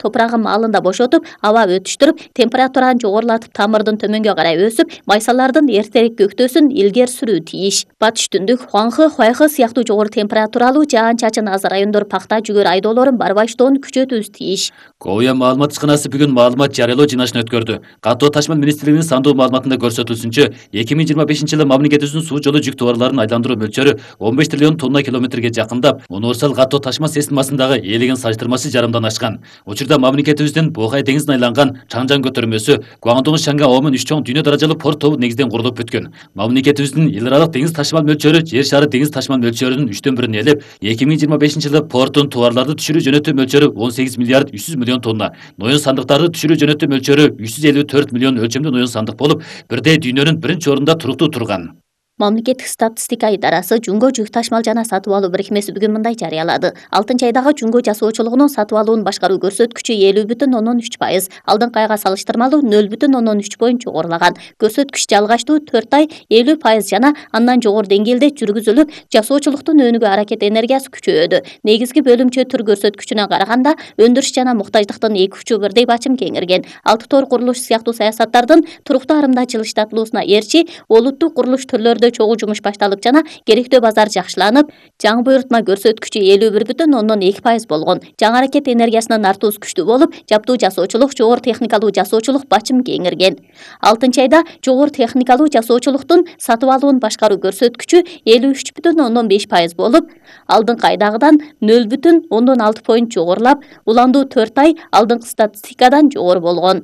топурагы маалында бошотуп, аба өтүштүрүп, температураны жогорулатып, тамырдын төмөнгө карай өсүп, майсалардын эртерээк көктөсүн илгери сүрүү тийиш. Батыш Түндүк, Хуанхэ, Хуайхэ сыяктуу жогору температуралуу жаан-чачын аз райондор пахта, жүгөр айдоолорун барбаштоону күчөтүүбүз тийиш. Коя маалымат ишканасы бүгүн маалымат жарыялоо жыйналышын өткөрдү. Каттоо ташмал министрлигинин сандуу маалыматында көрсөтүлсүнчө, 2025-жылы мамлекетибиздин суу жолу жүк товарларын айландыруу мөлчөрү 15 триллион тонна километрге жакындап, универсал каттоо ташма системасындагы ээлеген сальыштырмасы жарымдан ашкан. Учурда мамлекетибиздин Бохай деңизине айланган Чаңжан көтөрмөсү Гуандун Шанга Омен 3 чоң дүйнө даражалуу порт тобу негизден курулуп бүткөн. Мамлекетибиздин эл аралык деңиз ташмал мөлчөрү жер шары деңиз ташмал мөлчөрүнүн 3/1 ээлеп, 2025-жылы порттун товарларды түшүрүү жөнөтүү мөлчөрү 18 миллиард 300 миллион тонна, ноюн сандыктарды түшүрүү жөнөтүү мөлчөрү 354 миллион өлчөмдүү ноюн сандык болуп, бирдей дүйнөнүн биринчи орунда туруктуу турган. Мамлекеттик статистика идарасы Жунго жүк ташмал жана сатып алуу бирикмеси бүгүн мындай жарыялады. 6-айдагы Жунго жасоочулугунун сатып алуун башкаруу көрсөткүчү 50,3%, алдыңкы айга салыштырмалуу 0,3 жогорулаган. Көрсөткүч жалгаштуу 4 ай 50% жана андан жогору деңгээлде жүргүзүлүп, жасоочулуктун өнүгүү аракет энергиясы күчөйдү. Негизги бөлүмчө түр көрсөткүчүнө караганда, өндүрүш жана муктаждыктын эки учу бирдей бачым кеңирген. Алты тор курулуш сыяктуу саясаттардын туруктуу арымда жылыштатылуусуна ээрчи, олуттук курулуш түрлөрүндө чогуу жумуш башталып жана керектүү базар жакшыланып, жаңы буйрутма көрсөткүчү 51,2% болгон. Жаңы аракет энергиясынын артуусу күчтүү болуп, жаптуу жасоочулук, жогору техникалуу жасоочулук бачым кеңирген. 6-айда жогору техникалуу жасоочулуктун сатып алуун башкаруу көрсөткүчү 53,5% болуп, алдыңкы айдагыдан 0,6 поинт жогорулап, уландуу 4 ай алдыңкы статистикадан жогору болгон.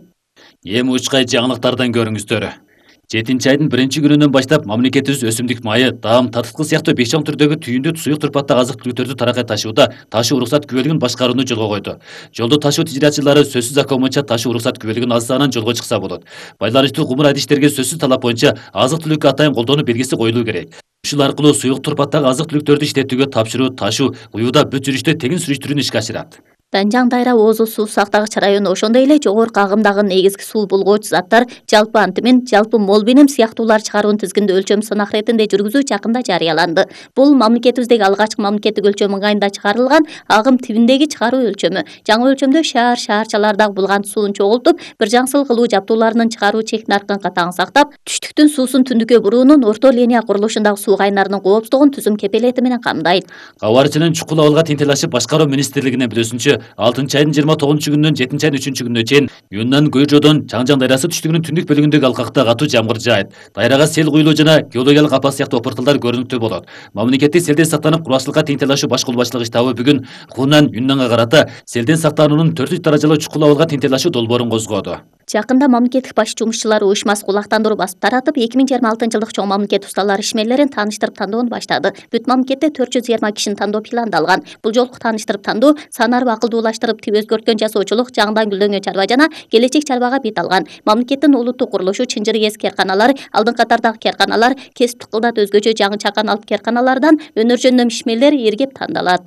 Эми учкай жаңылыктардан көрүңүздөр. 7-айдын 1-күнүнөн баштап мамлекетибиз өсүмдүк майы, даам, татыткы сыяктуу 5 чоң түрдөгү түйүндү суюк турпаттагы азык-түлүктөрдү таракай ташууда ташуу уруксат күбөлүгүн башкарууну жолго койду. Жолдо ташуу тижиратчылары сөзсүз акы боюнча ташуу уруксат күбөлүгүн аз санын жолго чыкса болот. Байланыштуу кумур адиштерге сөзсүз талап боюнча азык-түлүккө атайын колдонуу белгиси коюлуу керек. Ушул аркылуу суюк турпаттагы азык-түлүктөрдү иштетүүгө тапшыруу, ташуу, уюуда бүт жүрүштө тегин сүрүштүрүүнү ишке ашырат. Данжаң Дайра Оозу суу сактагыч району ошондой эле жогорку агымдагы негизги суу булгоочу заттар жалпы антимин, жалпы мол бенем сыяктуулар чыгаруунун тизгинде өлчөм сынак иретинде жүргүзүү жакында жарыяланды. Бул мамлекетибиздеги алгачкы мамлекеттик өлчөм ыңгайында чыгарылган агым тибиндеги чыгаруу өлчөмү. Жаңы өлчөмдө шаарчалардагы булгант суун чогултуп, бир жаңсыл кылуу жабдууларынын чыгаруу чек наркын катаң сактап, түштүктүн суусун түндүккө буруунун орто линия курулушундагы суу кайнарынын коопсуздугун түзүм кепелети менен камдайт. Кабарчынын чукул абалга тентелашып башкаруу министрлигинин билүүсүнчө, 6-айдын 29-күнүнөн 7-айдын 3-күнүнө чейин Юннан Гуйжодон Чаңжан дайрасы түштүгүнүн түндүк бөлүгүндөгү алкакта катуу жамгыр жаайт. Дайрага сел куюлуу жана геологиялык апат сыяктуу опуртулдар көрүнүктүү болот. Мамлекеттик селден сактанып кургакчылыкка тентелашуу баш колбасчылыгы штабы бүгүн Хунан Юннанга карата селден сактануунун 4 даражалуу чукул абалга тентелашуу долбоорун козгоду. Жакында мамлекеттик баш жумушчулары уюшмасы кулактандыруу басып таратып, 2026-жылдык чоң мамлекет усталар ишмерлерин тааныштырып тандоону баштады. Бүт мамлекетте 420 кишини тандоо пландалган. Бул жолку тааныштырып тандоо санарып акылдуулаштырып өзгөрткөн жасоочулук, жаңыдан гүлдөнгөн чарба жана келечек чарбага бет алган. Мамлекеттин улуттук курулушу, чынжыр кесип керканалары, алдыңкы катардагы керканалар, кесиптик кылдат өзгөчө жаңы чакан алып керканалардан өнөр жөндөм ишмерлер эргеп тандалат.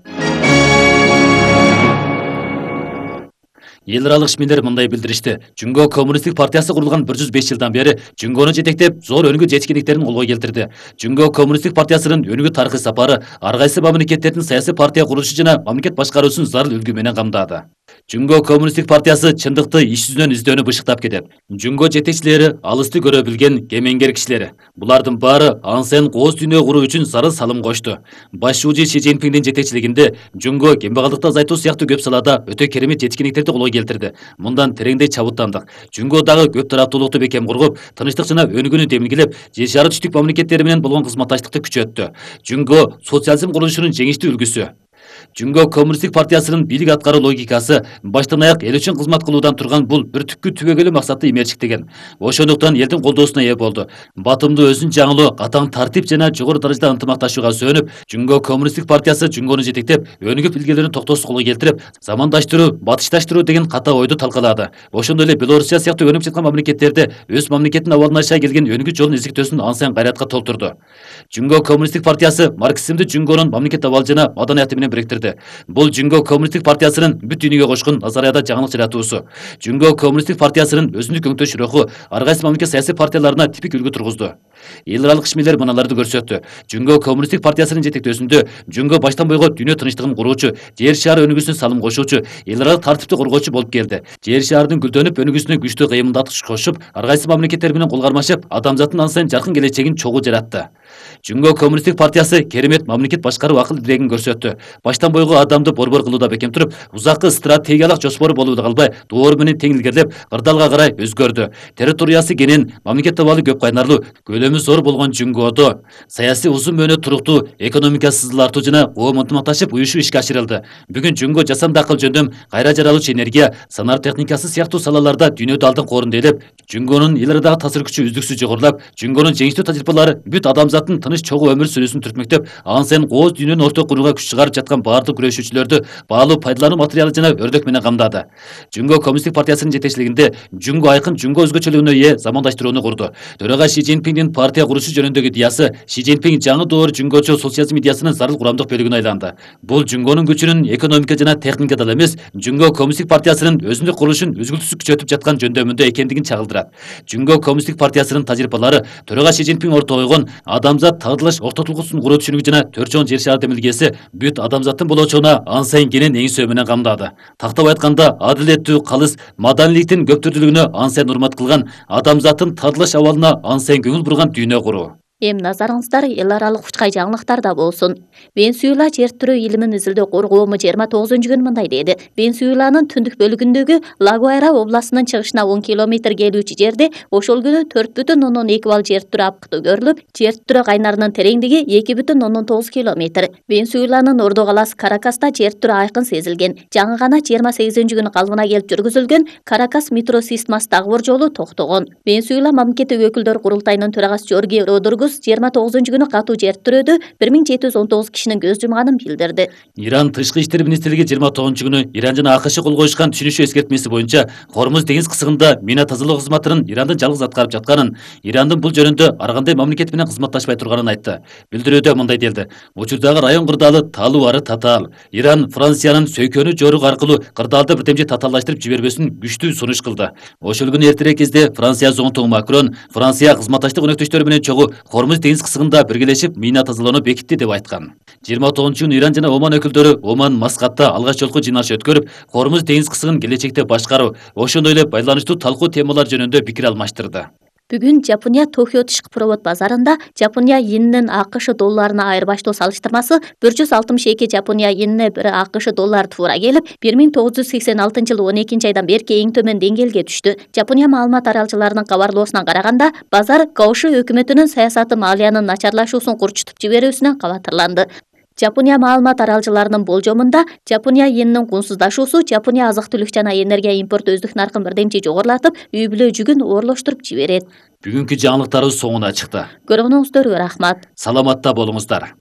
Эл аралык ишмерлер мындай билдиришти. Жунго коммунисттик партиясы курулган 105 жылдан бери Жунгону жетектеп, зор өнүгүү жетишкендиктерин колго келтирди. Жунго коммунисттик партиясынын өнүгүү тарыхый сапары ар кайсы мамлекеттердин саясий партия курулушу жана мамлекет башкаруусун зарыл үлгү менен камдады. Жунго коммунисттик партиясы чындыкты иш жүзүнөн издөөнү бышыктап кетет. Жунго жетекчилери алысты көрө билген кемеңгер кишилер. Булардын баары ансен кооз дүйнө куруу үчүн зарыл салым кошту. Баш шууji Ши Цзиньпиндин жетекчилигинде Жунго кембагалдыкты азайтуу сыяктуу көп салада өтө керемет жетишкендиктерди колго келтирди. Мындан тереңдей чабыттандык. Жунго дагы көп тараптуулукту бекем кургуп, тынчтык жана өнүгүүнү демилгелеп, жер шары түштүк мамлекеттери менен болгон кызматташтыкты күчөттү. Жунго социализм курулушунун жеңиштүү үлгүсү. Жунго коммунисттик партиясынын бийлик аткаруу логикасы баштан аяк эл үчүн кызмат кылуудан турган бул бир түпкү түбөгөлүү максатты имерчиктеген. Ошондуктан элдин колдоосуна ээ болду. Батымдуу өзүн жаңылоо, катаң тартип жана жогору даражада ынтымакташууга сөөнүп, Жунго коммунисттик партиясы Жунгону жетектеп, өнүгүп илгерилүүнү токтоосуз колго келтирип, замандаштыруу, батышташтыруу деген ката ойду талкалады. Ошондой эле Белоруссия сыяктуу өнүгүп жаткан мамлекеттерде өз мамлекетинин абалына аша келген өнүгүү жолун издиктөөсүн ансен кайратка толтурду. Жунго коммунисттик партиясы марксизмди Жунгонун мамлекет абалы жана маданияты менен бириктирди. берди. Бул Жүнгө Коммунисттик партиясынын бүт дүйнөгө кошкон Назарияда жаңылык жаратуусу. Жүнгө Коммунисттик партиясынын өзүндүк өңтөш руху ар кайсы мамлекет саясий партияларына типик үлгү тургузду. Эл аралык ишмерлер мыналарды көрсөттү. Жүнгө Коммунисттик партиясынын жетектөөсүндө Жүнгө баштан бойго дүйнө тынчтыгын куруучу, жер шаары өнүгүүсүнө салым кошуучу, эл аралык тартипти коргоочу болуп келди. Жер шаарынын гүлдөнүп өнүгүүсүнө күчтүү кыймылдатыш кошуп, ар кайсы мамлекеттер менен кол кармашып, адамзаттын ан сайын жаркын келечегин чогуу жаратты. Жүнгө Коммунисттик партиясы керемет мамлекет башкаруу акыл дилегин көрсөттү. Баштан бойго адамды борбор кылууда бекем туруп, узаккы стратегиялык жоспору болууга калбай, доор менен тең илгерлеп, кырдаалга карай өзгөрдү. Территориясы кенен, мамлекет табалы көп кайнарлуу, көлөмү зор болгон Жүнгөдө саясий узун мөөнөт туруктуу, экономикасы сызылартуу жана коом ынтымакташып уюшу ишке ашырылды. Бүгүн Жүнгө жасанды акыл жөндөм, кайра жаралуучу энергия, санар техникасы сыяктуу салаларда дүйнөдө алдын корунда ээлеп, Жүнгөнүн эл арадагы таасир күчү үздүксүз жогорулап, Жүнгөнүн жеңиштүү тажрыйбалары бүт адамзаттын тыныч чогуу өмүр сүрүүсүн түртмөктөп, ан сайын кооз дүйнөнү ортого курууга күч чыгарып жаткан баардык күрөшүүчүлөрдү баалуу пайдалануу материалы жана өрдөк менен камдады. Жүнгө Коммунисттик партиясынын жетекчилигинде Жүнгө айкын Жүнгө өзгөчөлүгүнө ээ замандаштырууну курду. Төрага Ши Цзиньпиндин партия курушу жөнүндөгү идеясы Ши Цзиньпин жаңы доор Жүнгөчө социализм идеясынын зарыл курамдык бөлүгүнө айланды. Бул Жүнгөнүн күчүнүн экономика жана техникада эле эмес, Жүнгө Коммунисттик партиясынын өзүндүк курулушун үзгүлтүсүз күчөтүп жаткан жөндөмүндө экендигин чагылдырат. Жүнгө Коммунисттик партиясынын тажрыйбалары төрага Ши Цзиньпин ортого койгон адамзат тагдырылыш ортотулгусун куруу түшүнүгү жана төрт чоң жер шаар демилгеси бүт адамзаттын болочогуна ан сайын кенен эңсөө менен камдады. Тактап айтканда, адилеттүү, калыс, маданиликтин көп түрдүүлүгүнө ан сайын урмат кылган, адамзаттын тагдырылыш абалына ан сайын көңүл бурган дүйнө куруу. Эми назарыңыздар эл аралык учкай жаңылыктарда болсун. Венесуэла жер түрү илимин изилдөө коргоому 29-күнү мындай деди. Венесуэланын түндүк бөлүгүндөгү Лагуайра областынын чыгышына 10 километр келүүчү жерде ошол күнү 4,2 балл жер түрү апкытуу көрүлүп, жер түрү кайнарынын тереңдиги 2,9 километр. Венесуэланын ордо калаасы Каракаста жер түрү айкын сезилген. Жаңы гана 28-күнү калыбына келип жүргүзүлгөн Каракас метро системасындагы бор жолу токтогон. Венесуэла мамлекети өкүлдөр курултайынын төрагасы Жорге Родургус 29-күнү катуу жер түрөдө 1719 кишинин көз жумганын билдирди. Иран тышкы иштер министрлиги 29-күнү Иран жана АКШ кол коюшкан түшүнүшү эскертмеси боюнча Хормуз деңиз кысыгында мина тазалоо кызматынын Ирандын жалгыз аткарып жатканын, Ирандын бул жөнүндө ар кандай мамлекет менен кызматташпай турганын айтты. Билдирүүдө мындай делди: учурдагы район кырдаалы талуу ары татаал. Иран Франциянын сөйкөнү жорук аркылуу кырдаалды бирдемже татаалдаштырып жибербесин күчтүү сунуш кылды. Ошол күнү эртерээк кезде Франция зонтугу Макрон Франция кызматташтык өнөктөштөрү менен чогуу Хормуз деңиз кысыгында биргелешип мина тазалоону бекитти деп айткан. 29-күнү Иран жана Оман өкүлдөрү Оман Маскатта алгач жолку жыйналыш өткөрүп, Хормуз деңиз кысыгын келечекте башкаруу, ошондой эле байланыштуу талкуу темалар жөнүндө пикир алмаштырды. Бүгүн Жапония Токио тышкы провод базарында Жапония йенинин АКШ долларына айырбаштоо салыштырмасы 162 Жапония йенине 1 АКШ доллар туура келип, 1986-жылы 12-айдан берки эң төмөн деңгээлге түштү. Жапония маалымат аралчыларынын кабарлоосуна караганда, базар Каоши өкмөтүнүн саясаты малиянын начарлашуусун курчутуп жиберүүсүнөн кабатырланды. Жапония маалымат аралчыларынын болжомунда, Жапония йенинин кунсуздашуусу Жапония азык-түлүк жана энергия импорту өздүк наркын бирдемчи жогорулатып, үй бүлө жүгүн оорлоштуруп жиберет. Бүгүнкү жаңылыктарыбыз соңуна чыкты. Көргөнүңүздөргө рахмат. Саламатта болуңуздар.